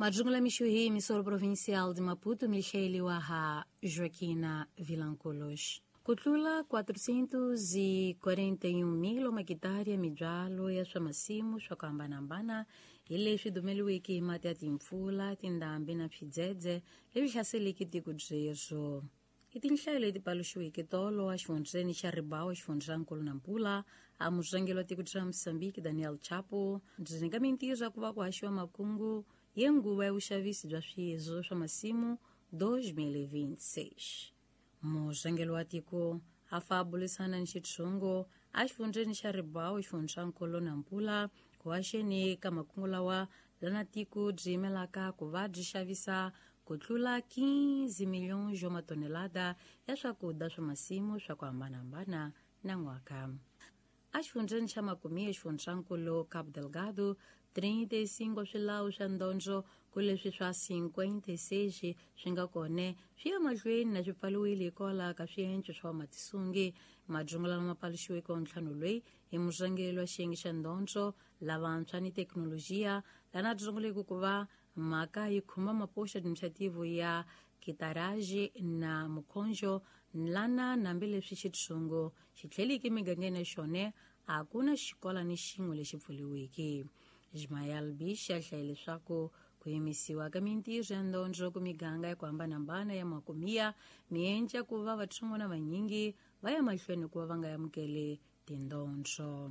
Majungula mixuhi missoro provincial de Maputo Michele ha Joaquina Vilanculos. Ku tlula 441 000 makitari ya mibyalo ya swa masimu swa ku hambanahambana hi leswi dumeliweke hi mati ya timpfula, tindhambi na swidzedze leswi hlaseleke tiko byerhu. I tinhlayo leti paluxiweke tolo exifundzheni xa Ribawo, xifundzankulu na Mpula, a murhangeri wa tiko ra Mozambique Daniel Chapo byi nyika mintirho ya ku va ku haxiwa makungu ya nguva ya vuxavisi bya swiyezwo swa masimu 2026. Murhangeri wa tiko a fa a burisana ni xitshungu exifundzheni xa Ribawo, xifundzankulu na Mpula, ku haxeni ka makungu lawa lana tiko byi yimelaka ku va byi xavisa ku tlula 15 milhões de matonelada ya swakudya swa masimu swa ku hambanahambana na n'waka. Exifundzheni xa Makumia, xifundzankulu Cabo Delgado, 35 swilawu swa ndondzo ku leswi swa 56 swi nga kone swi ya mahlweni na swi pfaliwile hikwalaho ka swienco swa vamatisungi. Majungu lama paluxiweke wa ntlhanu loyi hi murhangeri wa xiyenge xa ndondzo lavantshwa ni thekinolojiya lana dzunguleke ku va mhaka yi khumba mapoxa administrativo ya Kitaraji na Mukhonjo lana nambileswi xitshungu xi tlheliki emigangeni ya xona a ku na xikola ni xin'we lexi pfuriweke. Ismael Bish a hlaye leswaku ku yimisiwa ka mintirho ya ndondzo ku miganga ya ku hambanahambana ya Makumia mienca ku va vatsongwana vanyingi va ya mahlweni ku va va nga amukeli tindondzo.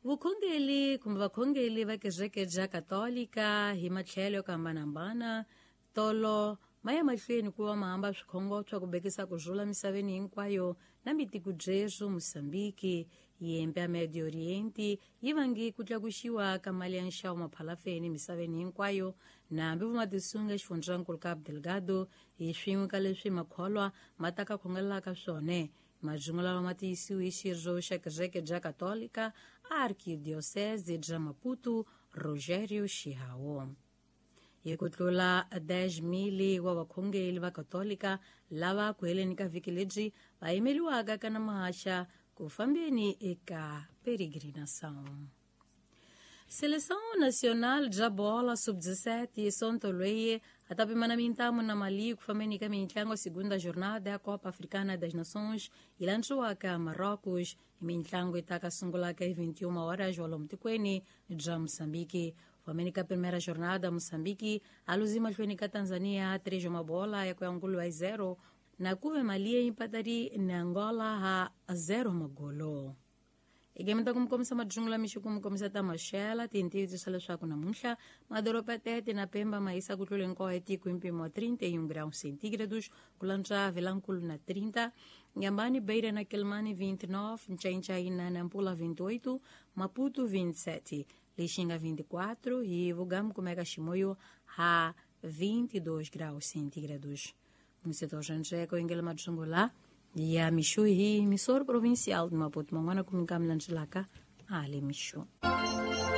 Vukhongeli kumbe vakhongeli va kereke bya Katolika hi matlhelo yo ku hambanahambana tolo ma ya mahlweni ku va ma hamba swikhongo swa ku bekisa ku rhula misaveni hinkwayo na mitiko byeswo Mozambique. Yembe ya Medio Oriente yi vangi ku tlakuxiwa ka mali ya nxavo maphalafeni misaveni hinkwayo na hambi vomatisunga xifundzankulu Cabo Delgado hi swin'we ka leswi makholwa ma ta ka khongelelaka swona. Majungu lawa ma tiyisiwe hi xirho xa kereke bya Katolika Arquidiocese bya Maputo Rogério Chihawo. Hi ku tlula 10 000 wa vakhongeli va Katolika lava ku heleni ka vhiki lebyi va yimeliwaka ka na mahaxa ku fambeni eka peregrinação. Seleção Nacional bya bola sub-17 sonto loyi a ta pimana mintamu na Mali ku fambeni ka mintlango segunda jornada ya Copa Africana das Nações yi landziwaka Marrocos. Mintlango yi ta ka sungulaka hi 21 horas walomu tikweni bya Mozambique. Fambeni ka primeira jornada, Mozambique a luzi mahlweni ka Tanzania 3 mabola ya ku ya nkulu wa 0 na kuve Mali ya empatari na Angola ha 0 magolo. Igemeta kumkomisa majungula mixi kumkomisa ta maxela tintiyiso leswaku namuntlha madoroba Tete na Pemba ma yisa ku tlula hinkwawo etiko hi mpimo wa 31 graus centígrados, ku lantswa Vilankulu na 30, Inhambane, Beira na Quelimane 29, Nchainchai na Nampula 28, Maputo 27, Lixinga 24 e Vugamu kumeka Chimoio ha 22 graus centígrados. No setor Janjeco, em Majungula ya mixu hi missoro provincial de Maputo, man'wana ku mi ka mi landzelaka ali mixu.